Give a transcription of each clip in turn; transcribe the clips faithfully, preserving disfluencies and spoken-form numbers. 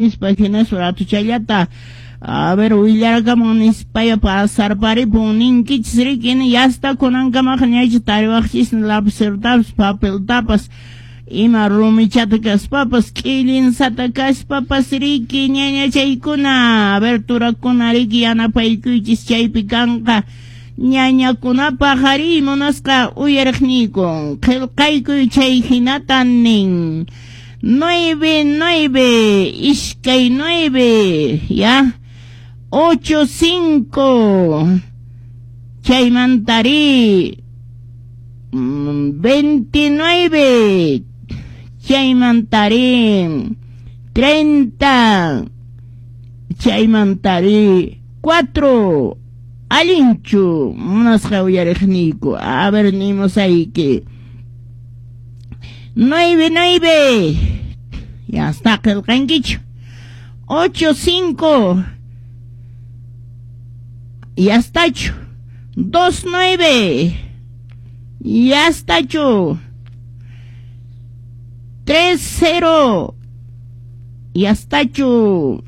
Nispa hinaspa ratuchallata a ver willarakamun nispaya pasarparipun ninkichis riki yasta kunankamaqa ñaycha tariwaqchis lapicetapas papeltapas ima rumichata kaspapas k'illinsata kaspapas riki ñañachaykuna a ver turakuna riki yanapaykuychis chaypi kanqa ñañakunapaq ari munasqa uyariqniyku qillqaykuy chay hinata nin nueve nueve iskay nueve ya ocho cinco chaymantari veintinueve chaymantari treinta chaymantari cuatro allinchu munasqa uyariqniyku a ver nimusayki nueve nueve ya está qillqankichu ocho cinco ya estachu dos nueve ya estachu tres cero ya estachu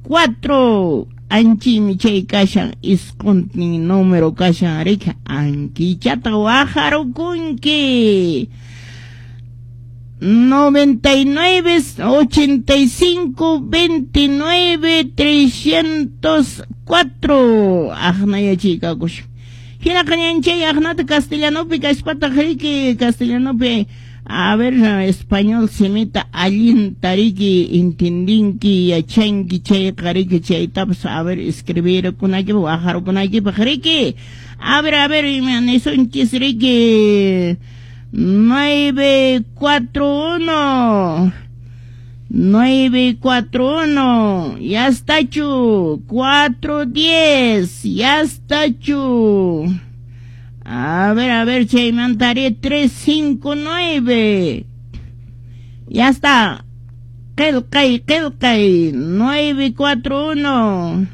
cuatro anchimi chay kashan isquntin número kashan riki ankichata waqharukunki noventa y nueve, ochenta y cinco, veintinueve, trescientos cuatro aqnayachiykakush hinaqa ñanchay aqnata castellanopi kaspataq riki castellanopi a ver español simita allinta riki entendinki yachanki chayqa riki chaytapas a ver escribirkunaykipaq waqharukunaykipaq riki a ver a ver ima nisunchis riki nueve cuatro uno nueve cuatro uno ya estachu cuatro diez ya estachu a ver a ver chaymantari tres cinco nueve ya está qillqay qillqay nueve cuatro uno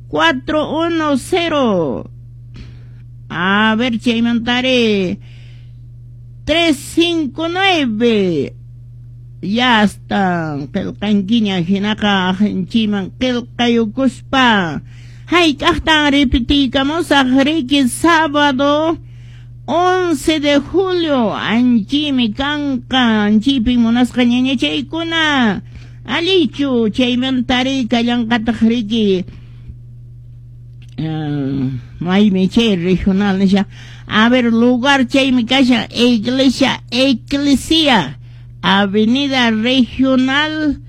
cuatro uno cero a ver chaymantari tres cinco nueve ya está qillqankiña hinaqa aqinchikman qillqayukuspa hayk'aqtan repetiykamusaq riki sábado once de julio anchimi kanqa anchipin munasqa ñañachaykuna allichu chaymantari kallanqataq riki maymi chay regional nisha a ver lugar chaymi kashan iglesia eclesia avenida regional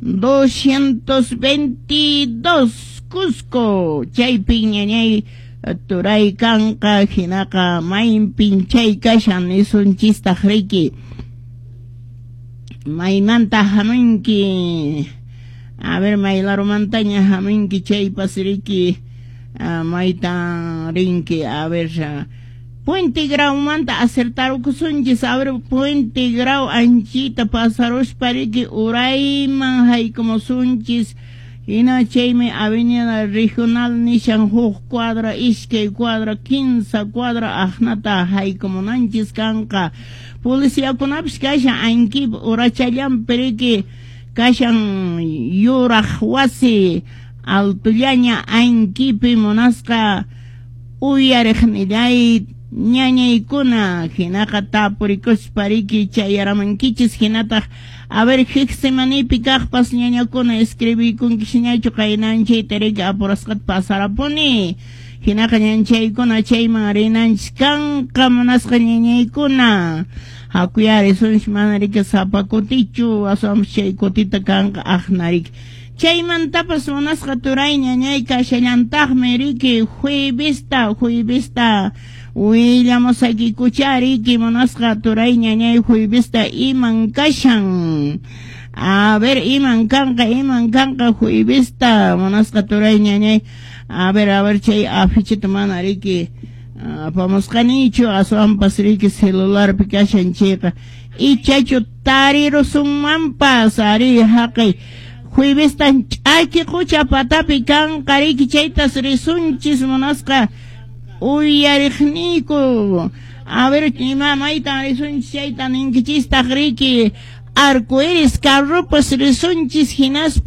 doscientos veintidós Cusco chaypin ñañay turay kanqa hinaqa maypin chay kashan nisunchistaq riki maymanta hamunki a ver maylarumantaña hamunki chaypas riki maytan rinki a ver Puente Graumanta acertarukusunchis a ver Puente Grau anchita pasaruspa riki urayman haykumusunchis hina chaymi avenida regional nishan huk cuadra iskay cuadra kinsa cuadra aqnata haykumunanchis kanqa policiakunapis kashan ankip urachallanpi riki kashan yuraq wasi altullaña ankipi munasqa uyariqnillay ñañaykuna hinaqa tapurikuspa riki chayaramankichis hinataq a ver Getsemanípi kaqpas ñañakuna escribiykunkisñachu qaynanchayta riki apurasqata pasarapuni hinaqa ñanchaykuna chayman rinanchis kanqa munasqa ñañaykuna hakuyari sunchis mana riki sapa kutichu aswanpas chay kutita kanqa aqna riki chaymantapas munasqa turay ñañay kashallantaqmi riki juevesta juevesta willamusakikucha riki munasqa turay ñañay juevesta iman kashan a ver iman kanqa iman kanqa juevesta munasqa turay ñañay a ver a ver chay afichita mana riki apamusqanichu aswanpas riki celularpi kashan chayqa ichachu tarirusunmanpas ari haqay juevestan ch'aki qucha patapi kanqa riki chaytas risunchis munasqa uyariqniyku a ver ima maytan risunchis chayta ninkichistaq riki Arcoiris carropas risunchis hinaspa.